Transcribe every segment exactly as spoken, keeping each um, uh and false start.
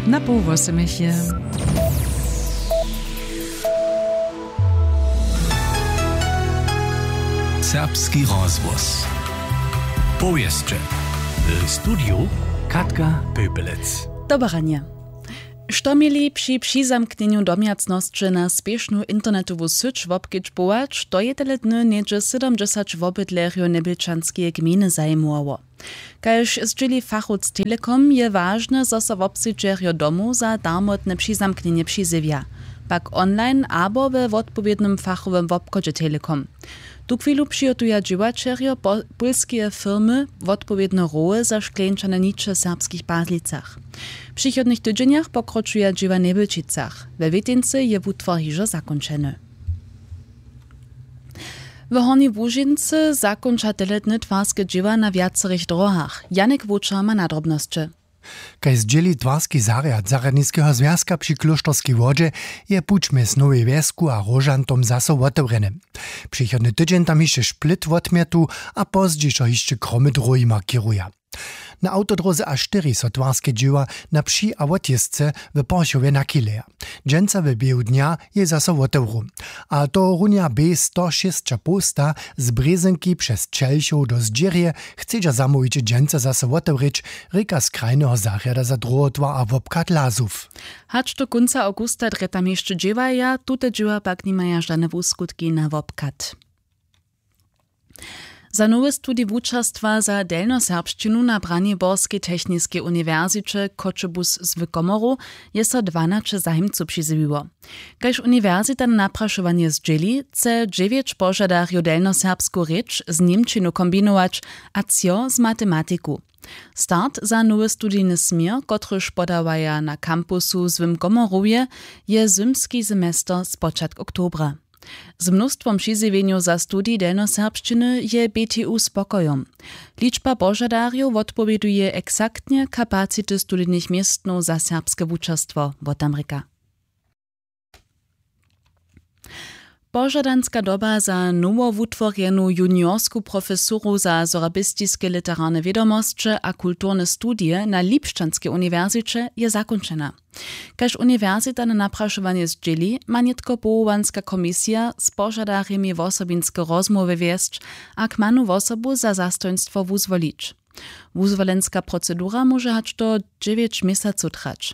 Na poł wosomich je. Serbski rozhłos. Powěsće. W studiju Katka Pöpelec. Dobre ranje. Što měli při přizamknjenju domjacnosće na spěšnu internetowu syć wobkedźbować, to je tele dny něhdźe sydomdźesać wobydlerjow njebjelčanskeje gmejny zajimowało. Kaž zdźěli fachowc Telekom, je wažne, zo so wobsedźerjo domow za darmotne přizamknjenje přizjewja, pak online abo we wotpowědnym fachowym wobchodźe Telekom. Tuchwilu přihotuja dźěłaćerjo po- pólskeje firmy wotpowědne roły za škleńčane niče w serbskich Pazlicach. W přichodnych tydźenjach pokročuja dźěła w Njebjelčicach. We Wětincy je wutwar hižo zakónčeny. W Hornjej Łužincy zakónča tele dny twarske dźěła na wjacerych dróhach. Janik Wočer ma nadrobnosće. Kaž zdźěli twarski zarjad zarjadniskeho zwjazka při Klóšterskej Wodźe, je puć mjez Nowej Wjesku a Róžantom zaso wotewrjeny. Přichodny tydźeń tam hišće šplit wotmětu a pozdźišo hišće kromy dróhi markěruja. Na awtodróze A štyri so twarske dźěła na při- a wotjězce w Porchowje nachyleja. Dźensa w běhu dnja je zaso wotewru. A tohorunja B sto šěsćapołsta z Brězynki přez Čelchow do Zdźěrje chcedźa zamołwić dźensa zaso wotewrěć, rěka z krajneho zarjada za druhotwar a wobchad Lazow. Hač do kónca awgusta drje tam hišće dźěłaja, tute dźěła pak nimaja žane wuskutki na wobchad. Za nowy studij wučerstwa za delnjoserbšćinu na Braniborskej techniskej uniwersiće Choćebuz z Wykomoru je so dwanaće zajimcow přizjewiło. Kaž uniwersita na naprašowanje zdźěli, chce dźewjeć požadarjow delnjoserbsku rěč z němčinu kombinować a třo z matematiku. Start za nowy studijny směr, kotryž podawaja na kampusu w Złym Komorowje, je zymski semester spočatk oktobra. Z mnóstwom přizjewjenjow za studij delnjoserbšćiny je B T U spokojom. Ličba požadarjow wotpowěduje eksaktnje kapacity studijnych městnow za serbske wučerstwo, wotamrěka. Požadanska doba za nowowutworjenu juniorsku profesuru za sorabistiske literarne wědomosće a kulturne studije na Lipšćanskej uniwersiće je zakónčena. Kaž uniwersita na naprašowanje zdźěli, ma nětko powołanska komisija z požadarjemi wosobinske rozmołwy wjesć a kmanu wosobu za zastojnstwo wuzwolić. Wuzwolenska procedura móže hač do dźewjeć měsacow trać.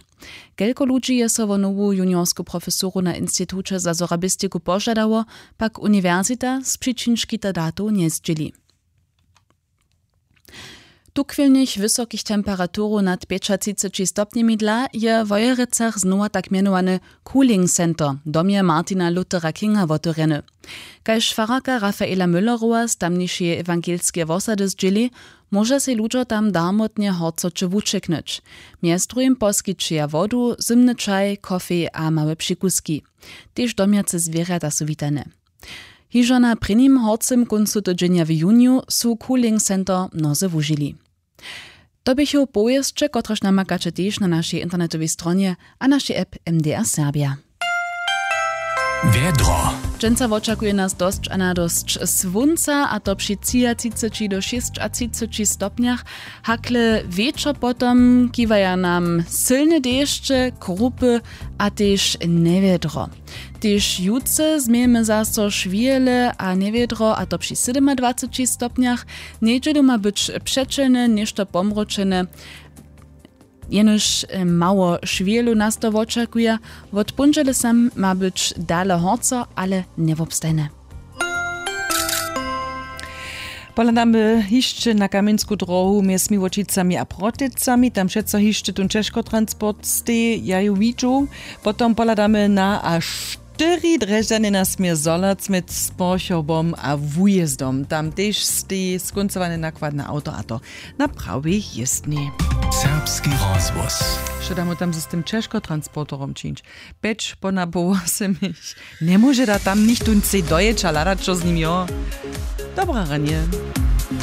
Kelko ludźi je so wo nowu juniorsku profesuru na Instituće za sorabistiku požadało, pak uniwersita z přičin škita datow njezdźěli. Tuchwilnych wysokich temperaturow nad pjećatřiceći stopnjemi dla je w Wojerecach znowa tak mjenowany Cooling Center w domje Martina Luthera Kinga wotewrjeny. Kaž fararka Rafaela Müllerowa z tamnišeje ewangelskeje wosady zdźěli, móža sej ludźo tam darmotnje horcoće wućeknyć. Mjez druhim poskićeja wodu, zymny čaj, kofej a małe přikuski. Tež domjace zwěrjata su witane. Hižo na prěnim horcym kóncu tydźenja w juniju su Cooling Center mnozy wužili. To běchu powěsće, kotrež namakaće tež na našej internetowej stronje a našej app M D R Serbia. Wjedro. Dźensa wočakuje nas dosć a nadosć słónca, a to při třiatřiceći do šěsćatřiceći stopnjach. Hakle wječor potom kiwaja nam sylne dešće, krupy a tež njewjedro. Tež jutře změjemy zaso šwěle a njewjedro, a to při sydomadwaceći stopnjach. Njedźelu ma być přećelne, něšto pomročene, jenož, e, mało šwělu nas to wočakuje. Wot póndźele sam ma być dale horco, ale njewobstajne. Pohladamy hišće na kamjensku dróhu mjez Miłočicami a Protycami. Tam přeco hišće tón ćežkotransport steji, ja ju widźu. Potom pohladamy na A štyri, Drježdźany na směr Zhorjelec mjez Sporchowom a Wujězdom. Tam tež steji skóncowane nakładne awto, a to na prawej jězbni. Serbski rozhłos. Što damy tam z tym ćežkotransporterom čińć? Pjeć pona poł wosomich. Njemóže da tam nichtó cej dojěć a hladać, što z nim jo. Dobre ranje.